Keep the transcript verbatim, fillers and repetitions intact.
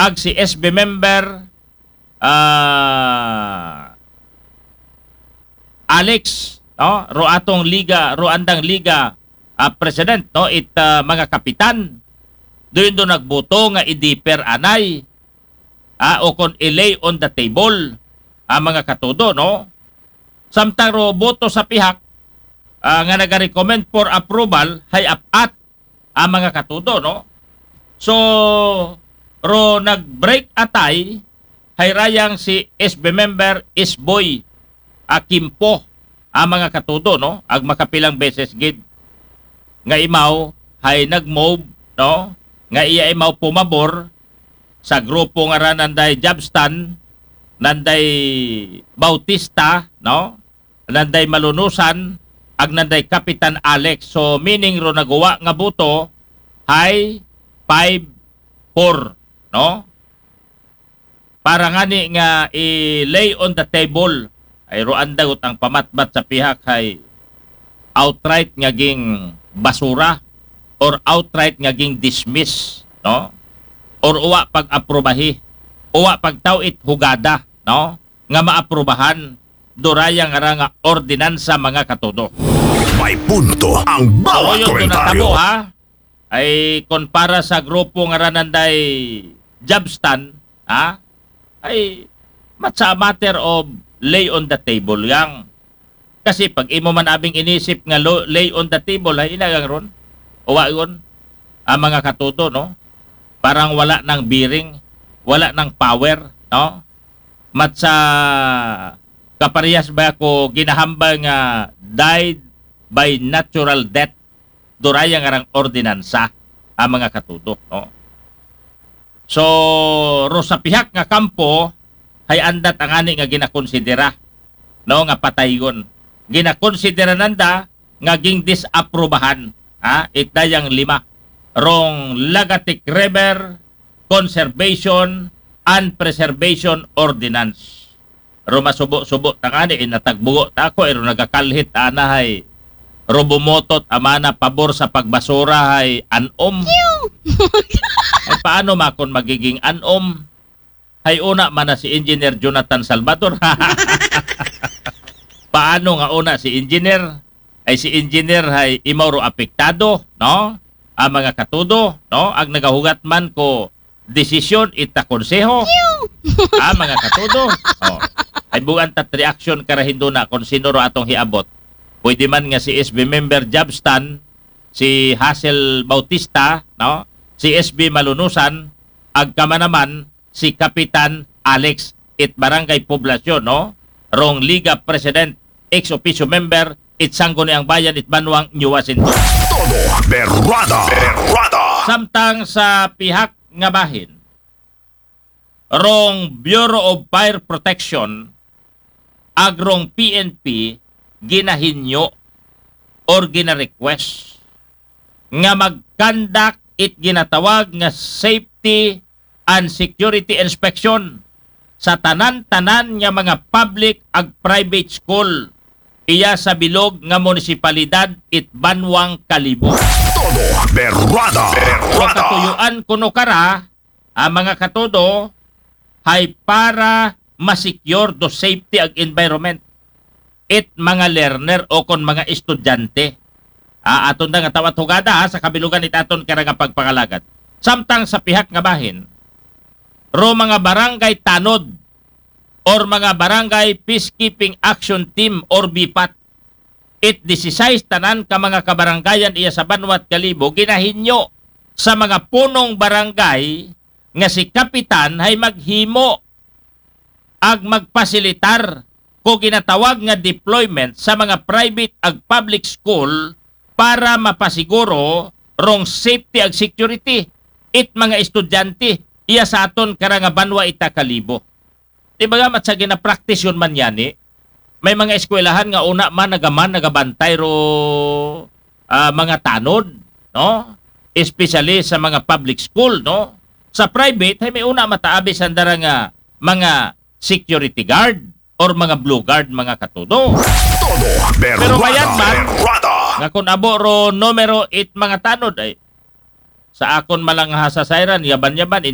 ag si S B member, ah, Alex, no? Ro atong liga, ro andang liga, ah, president, no? It, ah, mga kapitan. Doon do nagboto nga i-defer anay, ah, o kon i-lay on the table, ah, mga katudo, no? Samtang ro boto sa pihak, ah, nga nagarecommend for approval, hay apat, ah, mga katudo, no? So, ro nag-break a tie, hay rayang si S B member Isboy Akimpo, ah, mga katudo, no? Ag makapilang beses gid nga imaw hay nag-move, no? Nga iya imaw pumabor sa grupo nga ra nanday Jabstan, nanday Bautista, no? Nanday Malunusan, ag nanday Kapitan Alex. So, meaning ro naguwa nga boto, hay five four, no? Para ngani nga i-lay on the table, ay ro andagot ang pamatbat sa pihak hay outright nga ging basura or outright nga ging dismiss, no? Or uwa pag-aprobahi, uwa pagtaw-it hugada, no? Nga maaprubahan, duraya nga ra nga ordinansa, mga katudo. May punto ang bawat Oyo, ito komentaryo. Natabo, ha? Ay, kon para sa grupo nga ra nanday Jabstan, ha? Ay, matsa a matter of lay on the table yang. Kasi pag imo man abing inisip nga lo, lay on the table, ay ilagang ron. Uwa yun, ang mga katudo, no? Parang wala ng bearing, wala ng power, no? Matsa kaparehas ba ako ginahambal nga died by natural death, duraya nga rang ordinansa, ang mga katudo, no? So, ro sa pihak nga kampo, hay andat ang ani nga ginakonsidera, no, nga pataygon. Ginakonsidera nanda nga ging disaprubahan, ha, it dayang lima. Rong Lagatic River Conservation and Preservation Ordinance. Ro masubo-subo ta ngani, eh, natagbugo ta ako, eh, ro nagakalhit anahay. Ro bumotot amana pabor sa pagbasura hay anom. Ay, paano makon magiging anom? Hay una man na si Engineer Jonathan Salvador. Paano nga una si Engineer? Ay si Engineer hay imaw ro apektado, no? Ang mga katudo, no? Ag nagahugat man ko desisyon ita konseho. Ah, mga katudo. Oh. Ay buwan tat reaction karahindo na kung sino ro atong hiabot. Pwede man nga si S B member Jabstan, si Hazel Bautista, no? Si S B Malunusan, ag kama naman si Kapitan Alex it Barangay Poblasyon, no? Rong Liga President, ex officio member, it Sangguniang Bayan, it Banwang New Washington. Todo berrada. Berrada. Samtang sa pihak nga bahin, rong Bureau of Fire Protection, ag rong P N P, ginahinyo or gina-request nga mag-conduct it ginatawag nga safety and security inspection sa tanan-tanan nga mga public ag private school iya sa bilog nga munisipalidad it Banwang Kalibo. Todo berrada. So, Berrada. katuyuan kuno kara, ang mga katudo, hay para ma-secure do safety ag environment it mga learner o kon mga estudyante. Ah, aton da nga tawat hugada, ha, sa kabilugan it aton kara nga pagpangalagad. Samtang sa pihak nga bahin, ro mga barangay tanod or mga barangay peacekeeping action team or BPAT, it disisais tanan ka mga kabarangayan iya sa Banwat Kalibo ginahinyo sa mga punong barangay nga si kapitan hay maghimo ag magpasilitar ko ginatawag nga deployment sa mga private ag public school para mapasiguro rong safety ag security it mga estudyante iya sa aton kara nga banwa ita Kalibo. Di ba nga, mat sa ginapractice yun man yani, may mga eskwelahan nga una man nagaman nagabantay ro, ah, mga tanod, no? Especially sa mga public school, no? Sa private, hay may una mataabi sanda ra nga mga security guard or mga blue guard, mga katudo. Todo berrada. Pero mayad man, Berrada. Nga kun abo ro numero it mga tanod ay sa akon malang hasasayran, yaban-yaban,